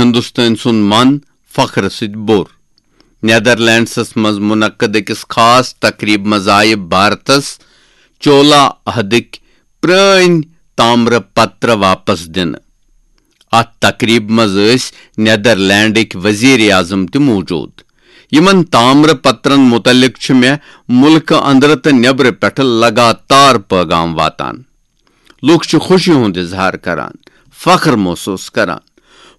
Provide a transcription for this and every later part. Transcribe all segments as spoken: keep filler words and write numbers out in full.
ہندوستٲنۍ سُنٛد من فخر سۭتۍ بوٚر۔ نیدرلینڈسس منٛز منعقد أکِس خاص تقریبہِ منٛز آیہِ بھارتس چولا عہدٕکۍ پرٲنۍ تامرٕ پتر واپس دِنہٕ۔ اتھ تقریبہِ منٛز ٲسۍ نیدرلینڈٕکۍ وزیر اعظم تہِ موجود۔ یِمن تامرٕ پترن متعلق چھُ مےٚ مُلکہٕ اندرٕ تہٕ نیبرٕ پٮ۪ٹھٕ لگاتار پیغام واتان۔ لوٗکھ چھِ خوشی ہُنٛد اظہار کران، فخر محسوس کران۔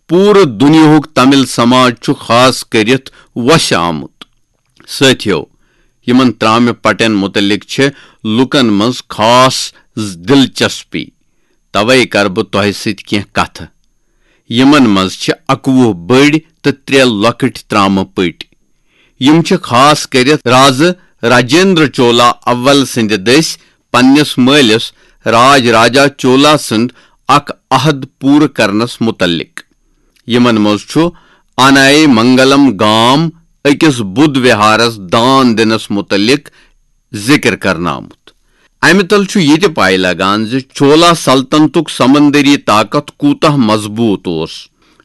پوٗرٕ دُنیاہُک تامل سماج چھُ خاص کٔرِتھ وۄسہِ آمُت۔ سٲتھیو، یِمن ترامہِ پٹٮ۪ن مُتعلق چھِ لوٗکن منٛز خاص دلچسپی۔ توے کرٕ بہٕ تۄہہِ سۭتۍ کینٛہہ کتھٕ۔ یِمن منٛز چھِ اَکوُہ بٔڑۍ تہٕ ترٛےٚ لۄکٕٹۍ ترامہٕ پٔٹۍ۔ یِم چھِ خاص کٔرِتھ رازٕ راجیندر چولا اول سٕنٛدِ دٔسۍ پننِس مٲلِس راج راجا چولا سُنٛد اکھ عہد پوٗرٕ کرنس مُتعلق۔ یِمن منٛز چھُ آنائے منگلم گام أکِس بُدھ وِہارس دان دِنس مُتعلق ذِکر کرنہٕ آمُت۔ امہِ تل چھُ یہِ تہِ پاے لگان زِ چولا سلطنتُک سمندری طاقت کوٗتاہ مضبوٗط اوس۔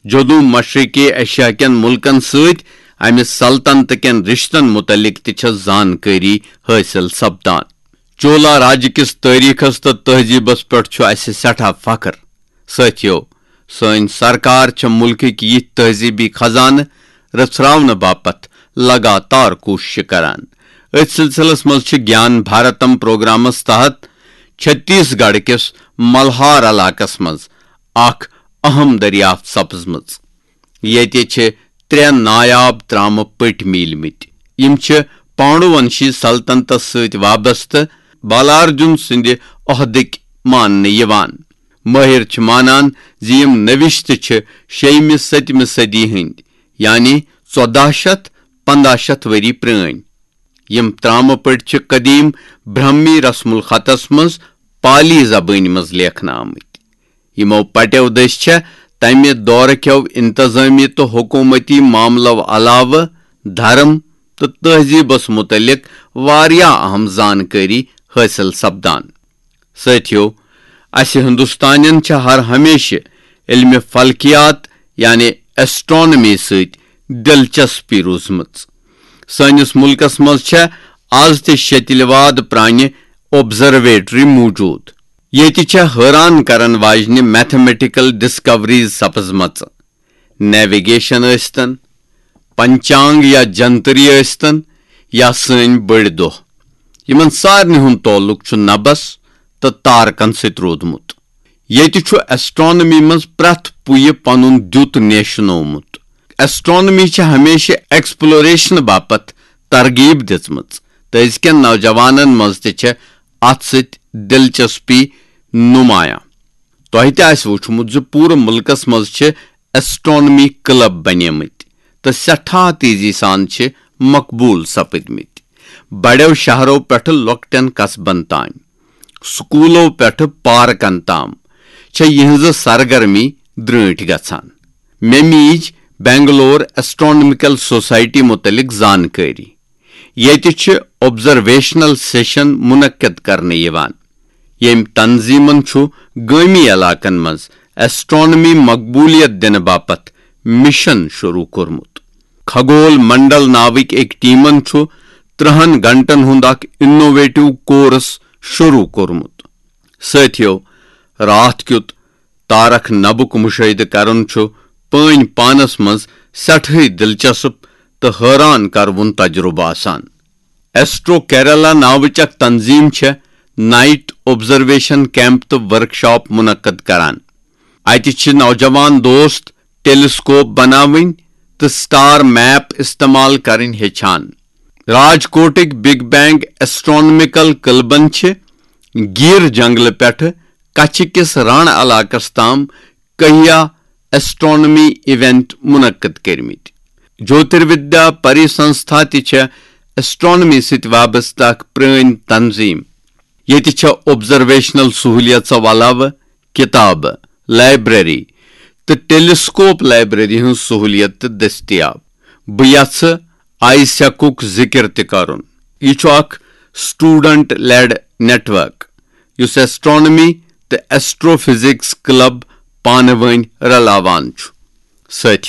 جنوب مشرقی ایشیا کٮ۪ن مُلکن سۭتۍ امہِ سلطنت کٮ۪ن رشتن مُتعلق تہِ چھےٚ زانکٲری حٲصِل سپدان۔ چولا راجہِ کِس تٲریٖخس تہٕ تہذیٖبس پٮ۪ٹھ چھُ اسہِ سٮ۪ٹھاہ فخر۔ سٲتھیو، سٲنۍ سرکار چھےٚ مُلکٕکۍ یِتھۍ تہذیٖبی خزانہٕ رژھراونہٕ باپتھ لگاتار کوٗششہٕ کران۔ أتھۍ سلسلس منٛز چھِ گیان بھارتم پروگرامس تحت چھتیس گڑھ کِس ملہار علاقس منٛز اکھ اہم دریافت سپزمٕژ۔ ییٚتہِ چھِ ترٛےٚ نایاب ترامہٕ پٔٹۍ میٖلمٕتۍ۔ یِم چھِ پانڈوونشی سلطنتس سۭتۍ وابستہٕ بالاردجن سٕنٛدِ عہدٕکۍ ماننہٕ یِوان۔ مٲہِر چھِ مانان زِ یِم نوشتہٕ چھِ شیٚیِمہِ ستمہِ صدی ہٕنٛدۍ، یعنی ژۄداہ شیٚتھ پنٛداہ شیٚتھ ؤری پرٲنۍ۔ یِم ترامہٕ پٔٹۍ چھِ قدیم برہمی رسم الخطس منٛز پالی زبٲنۍ منٛز لیکھنہٕ آمٕتۍ۔ یِمو پٹیو دٔسۍ چھےٚ تمہِ دورٕ کیو انتظٲمی تہٕ حکومتی معاملو علاوٕ دھرم تہٕ تہذیٖبس مُتعلق واریاہ اہم زانکٲری حٲصِل سپدان۔ سٲتھیو، اسہِ ہندوستانین چھےٚ ہر ہمیشہٕ علمِ فلکیات یعنی ایسٹرانومی سۭتۍ دلچسپی روٗزمٕژ۔ سٲنِس مُلکس منٛز چھےٚ از تہِ شیٚتلہِ واد پرانہِ آبزرویٹری موجود۔ ییٚتہِ چھےٚ حٲران کرن واجنہِ میتھمیٹیکل ڈسکوریز سپزمژٕ۔ نیویگیشن ٲسۍتن، پنچانگ یا جنتری ٲسۍتن، یا سٲنۍ بٔڑۍ دۄہ، یِمن سارنٕے ہُنٛد تعلق چھُ نبس تہٕ تارکن سۭتۍ روٗدمُت۔ ییٚتہِ چھُ ایسٹرانومی منٛز پرٛٮ۪تھ پُیہِ پنُن دیُت نیشنومُت۔ ایسٹرانومی چھِ ہمیشہِ ایکسپلوریشن باپتھ ترغیب دِژمٕژ، تہٕ أزکٮ۪ن نوجوانن منٛز تہِ چھےٚ اتھ سۭتۍ دلچسپی نمایاں۔ تۄہہِ تہِ آسہِ وُچھمُت زِ پوٗرٕ مُلکس منٛز چھِ ایسٹرانومی کلب بنیمٕتۍ تہٕ سٮ۪ٹھاہ تیزی سان چھِ مقبوٗل سپٕدمٕتۍ۔ بڑٮ۪و شہرو پٮ۪ٹھٕ لۄکٹٮ۪ن قصبن تام، سکوٗلو پٮ۪ٹھٕ پارکن تام چھےٚ یِہنٛزٕ سرگرمی درٛٲنٹھۍ گژھان۔ مےٚ میٖج بنگلور ایسٹرانومیکل سوسائٹی متعلق زانکٲری۔ ییٚتہِ چھِ آبزرویشنل سیشن منعقد کرنہٕ یِوان، ییٚمۍ تنظیمن چھُ گٲمی علاقن منٛز ایسٹرانومی مقبولیت دِنہٕ باپتھ مشن شروع کوٚرمُت۔ کھگول منڈل ناوٕکۍ أکۍ ٹیمن چھُ ترٕہن گھنٹن ہُنٛد اکھ انوویٹو کورس شروع کوٚرمُت۔ سٲتھیو، راتھ کیُت تارک نبُک مشاہدٕ کرُن چھُ پٲنۍ پانس منٛز سٮ۪ٹھٕے دلچسپ تہٕ حٲران کروُن تجربہٕ آسان۔ ایسٹرو کیرلا ناوٕچ اکھ تنظیم چھےٚ نائٹ آبزرویشن کیمپ تہٕ ورکشاپ منعقد کران۔ اتہِ چھِ نوجوان دوست ٹیلیسکوپ بناوٕنۍ تہٕ سٹار میپ استعمال کرٕنۍ ہیٚچھان۔ راجکوٹٕکۍ بگ بینگ ایسٹرانومیکل کلبن چھِ گیٖر جنگلہٕ پٮ۪ٹھٕ کچھِ کِس ران علاقس تام کہیا ایسٹرانومی ایونٹ منعقد کٔرمٕتۍ۔ جوتروِدیا پری سنستھا تہِ چھےٚ ایسٹرانومی سۭتۍ وابستہٕ اکھ پرٲنۍ تنظیم۔ ییٚتہِ چھےٚ آبزرویشنل سہولیژو علاوٕ کتابہٕ، لائبریری تہٕ ٹیلیسکوپ لائبریری ہٕنٛز سہولیت تہِ دٔستیاب۔ بہٕ یژھٕ آیسیکُک ذکر تہِ کرُن۔ یہِ چھُ اکھ student led network یُس ایسٹرانومی تہٕ ایسٹرو فزکس کلب پانہٕ وٲنۍ رلاوان چھُ۔ سۭتۍ